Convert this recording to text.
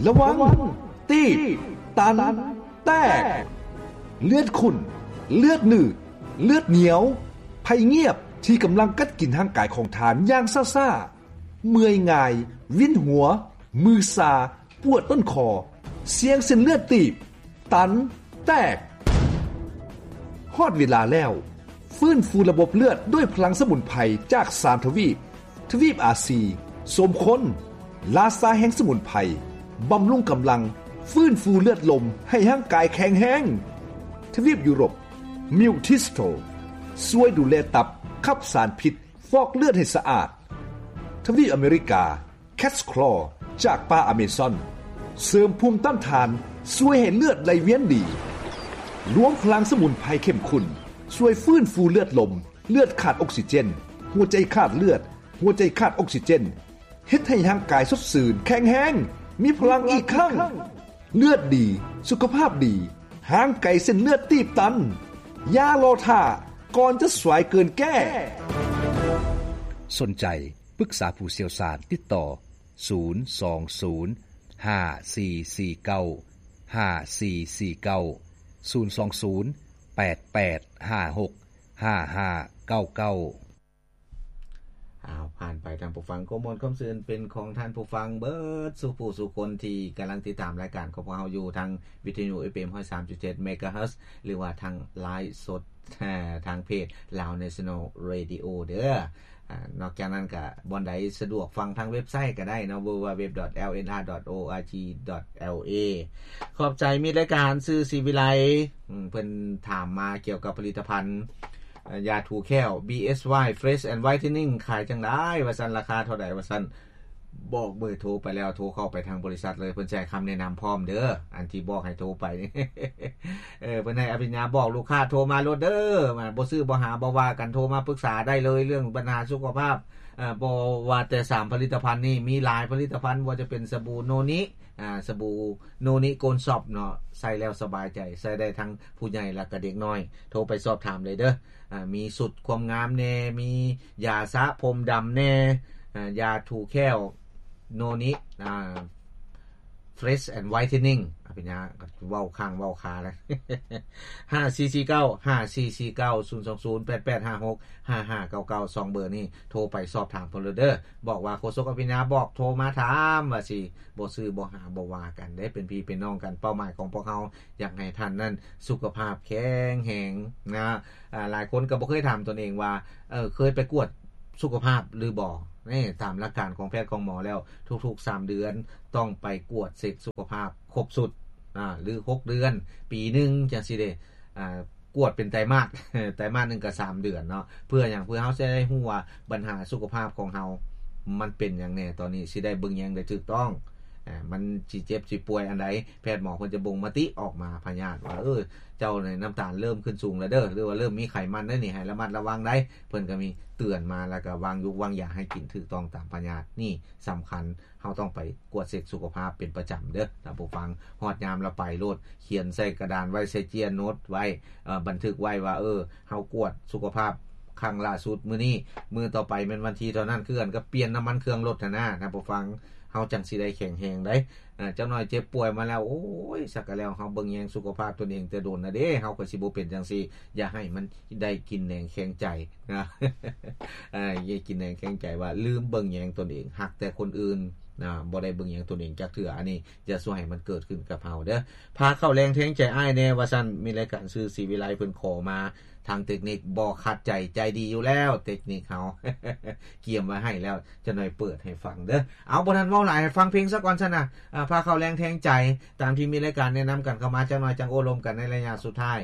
ລະວັງ ຕີບ ຕັນ ແຕກ. ເລືອດຂຸ້ນ, ເລືອດໜືດ, ເລືອດໜຽວ, ໄພງຽບທີ່ກຳລັງກັດກິນຮ່າງກາຍຂອງທ່ານຢ່າງຊ້າໆ, ເມື່ອຍງ່າຍ, ວິນຫົວ, ມືຊາ, ປວດຕົ້ນຄໍ, ສ່ຽງເສັ້ນເລືອດຕີບ, ຕັນ, ແຕກ. ຮອດເວລາແລ້ວ, ຟື້ນຟູລະບົບເລືອດດ້ວຍພະລັງສະໝຸນໄພຈາກສາມທະວີບ, ທະວີບອາຊີ, ສົມຄົນ, ລາຊາແຫ່ງສະໝຸນໄພ, ບຳລຸງກຳລັງ, ຟື້ນຟູເລືອດລົມໃຫ້ຮ່າງກາຍແຂງແຮງ. ທະວີບຢູໂຣບ, ມິວທິສໂຕ, ຊ່ວຍດູແລຕັບ, ຂັບສານພິດ, ຟອກເລືອດໃຫ້ສະອາດ. ທະວີບອາເມລິກາ, ແຄດສະຄລໍຈາກປ່າອາເມຊອນ ເສີມພູມຕ້ານທານ, ຊ່ວຍໃຫ້ເລືອດໄຫຼວຽນດີ. ລວມພະລັງສະໝຸນໄພເຂັ້ມຂຸ້ນ ຊ່ວຍຟື້ນຟູເລືອດລົມ, ເລືອດຂາດອົກຊີເຈນ, ຫົວໃຈຂາດເລືອດ, ຫົວໃຈຂາດອົກຊີເຈນ, ເຮັດໃຫ້ຮ່າງກາຍສົດຊື່ນ, ແຂງແຮງ, ມີພະລັງອີກຄັ້ງ. ເລືອດດີ, ສຸຂະພາບດີ, ຫ່າງໄກເສັ້ນເລືອດຕີບຕັນ. ຢ່າລໍຖ້າ, ກ່ອນຈະສວາຍເກີນແກ້. ສົນໃຈ ປຶກສາຜູ້ຊ່ຽວຊານ, ຕິດຕໍ່ ສູນສອງສູນ ຫ້າສີ່ສີ່ເກົ້າ ຫ້າສີ່ສີ່ເກົ້າ, ສູນສອງສູນ ແປດແປດຫ້າຫົກ ຫ້າຫ້າເກົ້າເກົ້າ. ອ້າວ ຜ່ານໄປທ່ານຜູ້ຟັງ, ຄວາມມ່ວນຄວາມຊື່ນເປັນຂອງທ່ານຜູ້ຟັງເບິດສູ່ຜູ້ສູ່ຄົນທີ່ກຳລັງຕິດຕາມລາຍການຂອງພວກເຮົາຢູ່ທາງວິທະຍຸ ເອັຟເອັມ ຮ້ອຍສາມຈຸດເຈັດ ເມກາເຮີດ ຫຼືວ່າທາງໄລຟ໌ສົດ ເອີ ທາງເພຈ Lao National Radio ເດີ. ອາ ນອກຈາກນັ້ນກະບ່ອນໃດສະດວກຟັງທາງເວັບໄຊກະໄດ້ເນາະ www.lnr.org.la. ຂອບໃຈມິດລາຍການ ຊື່ ສີວິໄລ ເພິ່ນຖາມມາກ່ຽວກັບຜະລິດຕະພັນ ເອີ ຢາຖູແຂ້ວ BSY Fresh and Whitening ຂາຍຈັ່ງໃດວ່າຊັ້ນ ລາຄາເທົ່າໃດວ່າຊັ້ນ. ບອກເບີໂທໄປແລ້ວ ໂທເຂົ້າໄປທາງບໍລິສັດເລີຍ ເພິ່ນຊິໃຫ້ຄຳແນະນຳພ້ອມເດີ ອັນທີ່ບອກໃຫ້ໂທໄປ. ເອີ ເພິ່ນໃຫ້ອະພິນຍາບອກລູກຄ້າໂທມາໂລດເດີ ບໍ່ຊື້ບໍ່ຫາບໍ່ວ່າກັນ ໂທມາປຶກສາໄດ້ເລີຍ ເລື່ອງບັນຫາສຸຂະພາບ. ເອີ ບໍ່ວ່າແຕ່ສາມຜະລິດຕະພັນນີ້ ມີຫຼາຍຜະລິດຕະພັນ ບໍ່ວ່າຈະເປັນສະບູໂນນິ ອາ ສະບູໂນນິໂກນຊອບເນາະ ໃຊ້ແລ້ວສະບາຍໃຈ ໃຊ້ໄດ້ທັງຜູ້ໃຫຍ່ ແລະກະເດັກນ້ອຍ ໂທໄປສອບຖາມໄດ້ເດີ. ອາ ມີສູດຄວາມງາມແດ່ ມີຢາສະຜົມດຳແດ່ ອາ ຢາຖູແຂ້ວໂນນິ ອາ Fresh and Whitening ອະ ເປັນຫຍັງ ເວົ້າຄ້າງເວົ້າຄາແລ້ວ. ຫ້າສີ່ສີ່ເກົ້າ ຫ້າສີ່ສີ່ເກົ້າ ສູນສອງສູນ ແປດແປດຫ້າຫົກ ຫ້າຫ້າເກົ້າເກົ້າ ສອງເບີນີ້ ໂທໄປສອບຖາມເພິ່ນໂລດເດີ. ບອກວ່າໂຄສົກອະພິນຍາບອກ ໂທມາຖາມວ່າຊິ ບໍ່ຊື້ບໍ່ຫາບໍ່ວ່າກັນເດ້ ເປັນພີ່ເປັນນ້ອງກັນ. ເປົ້າໝາຍຂອງພວກເຮົາ ຢາກໃຫ້ທ່ານນັ້ນສຸຂະພາບແຂງແຮງນະ. ອາ ຫຼາຍຄົນກໍບໍ່ເຄີຍຖາມຕົນເອງວ່າ ເອີ ເຄີຍໄປກວດສຸຂະພາບຫຼືບໍ່? ນີ້ ຕາມຫຼັກການຂອງແພດຂອງໝໍແລ້ວ ທຸກໆສາມເດືອນຕ້ອງໄປກວດເຊັກສຸຂະພາບຄົບຊຸດ ອາ ຫຼື ຫົກເດືອນ ປີໜຶ່ງ ຈັ່ງຊີ້ເດ້. ອາ ກວດເປັນໄຕມາດ ໄຕມາດໜຶ່ງກໍສາມເດືອນເນາະ. ເພື່ອຫຍັງ? ເພື່ອເຮົາຈະໄດ້ຮູ້ວ່າບັນຫາສຸຂະພາບຂອງເຮົາມັນເປັນຫຍັງແດ່ ຕອນນີ້ຊິໄດ້ເບິ່ງແຍງໄດ້ຖືກຕ້ອງ. ອາ ມັນຊິເຈັບຊິປ່ວຍອັນໃດ ແພດໝໍເພິ່ນຈະບົ່ງມະຕິອອກມາ ພະຍາດວ່າ ເອີ ເຈົ້ານີ້ນ້ຳຕານເລີ່ມຂຶ້ນສູງແລ້ວເດີ ຫຼືວ່າເລີ່ມມີໄຂມັນໄດ໋ນີ້ ໃຫ້ລະມັດລະວັງໄດ໋. ເພິ່ນກໍມີເຕືອນມາ ແລ້ວກໍວາງຢູກວາງຢາໃຫ້ກິນຖືກຕ້ອງຕາມພະຍາດ. ນີ້ສຳຄັນ ເຮົາຕ້ອງໄປກວດເຊັກສຸຂະພາບເປັນປະຈຳເດີທ່ານຜູ້ຟັງ. ຮອດຍາມລະໄປໂລດ ຂຽນໃສ່ກະດານໄວ້ ໃສ່ເຈ້ຍໂນດໄວ້ ເອີ ບັນທຶກໄວ້ວ່າ ເອີ ເຮົາກວດສຸຂະພາບຄັ້ງລ່າສຸດມື້ນີ້ ມື້ຕໍ່ໄປແມ່ນວັນທີເທົ່ານັ້ນ ຄືກັນກັບປ່ຽນນ້ຳມັນເຄື່ອງລົດຫັ້ນນະທ່ານຜູ້ຟັງ. ເຮົາຈັ່ງຊິໄດ້ແຂງແຮງໄດ໋. ເອີ ຈັກໜ້ອຍເຈັບປ່ວຍມາແລ້ວ ໂອ້ຍ ສັກກະແລ້ວ ເຮົາເບິ່ງແຍງສຸຂະພາບຕົນເອງແຕ່ດົນນະເດ້ ເຮົາກໍຊິບໍ່ເປັນຈັ່ງຊີ້. ຢ່າໃຫ້ມັນໄດ້ກິນແໜງແຂງໃຈນະ ເອີ ຢ່າກິນແໜງແຂງໃຈວ່າລືມເບິ່ງແຍງຕົນເອງ ຮັກແຕ່ຄົນອື່ນນະ ບໍ່ໄດ້ເບິ່ງແຍງຕົນເອງຈັກເທື່ອ. ອັນນີ້ຢ່າຊ່ວຍໃຫ້ມັນເກີດຂຶ້ນກັບເຮົາເດີ. ພາເຂົ້າແຮງແຮງໃຈອ້າຍແດ່ວ່າຊັ້ນ. ມີລາຍການຊື່ສີວິໄລເພິ່ນຂໍມາ ທາງເຕັກນິກບໍ່ຂັດໃຈ ໃຈດີຢູ່ແລ້ວ ເຕັກນິກເຮົາ ກຽມໄວ້ໃຫ້ແລ້ວ ຈັກໜ້ອຍເປີດໃຫ້ຟັງເດີ. ເອົາ ບໍ່ທັນເວົ້າຫຼາຍ ໃຫ້ຟັງເພງຊະກ່ອນຊັ້ນນະ. ອາ ພາເຂົ້າແຮງແຮງໃຈ ຕາມທີ່ມີລາຍການແນະນຳກັນເຂົ້າມາ ຈັກໜ້ອຍຈັ່ງໂອ້ລົມກັນໃນໄລຍະສຸດທ້າຍ.